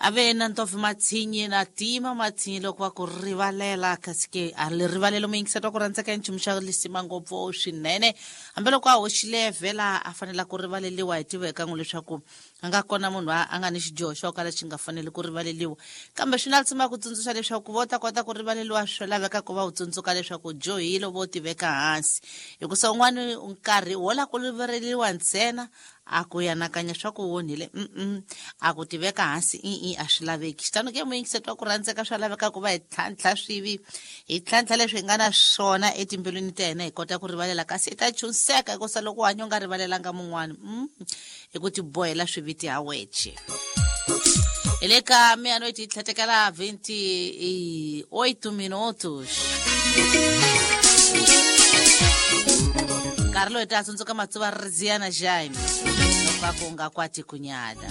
Ave na ntofi matsinyi na tima matsinyi loko va ku rivalela, kasi ke a li rivalelo muyingiseti wa ku rhandzeka i nchumu xa lisima ngopfu swinene. Hambiloko a hoxile vhela a fanela ku rivaleliwa, hi tiva eka n'wi leswaku a nga kona munhu a nga ni xidyoho xo kala xi nga faneli ku rivaleliwa, kambe swi na lisima ku tsundzuxa leswaku vo ta kota ku rivaleliwa swi laveka ku va u tsundzuka leswaku dyohile, vo tiveka hansi, hikusa un'wani nkarhi wo la ku rivaleliwa ntsena a ku yanakanya swa ku onhile, a ku tiveka hansi i a swi laveki. Xitano ke muyingiseti wa ku rhandzeka, swa laveka ku va hi tlhantlha swivi, hi tlhantlha leswi hi nga na swona etimbilwini ta hina, hi kota ku rivalela, kasi hi ta chunseka, hikusa loko u hanya u nga rivalelanga mun'wani, hi ku tibohela swiviti ha weche. Hi le ka meia-noite hi tlhetekela 28 minutos, nkarhi loyi ta tsundzuka matsuva Riziana Jaime loko va ku nga kwati kunyada.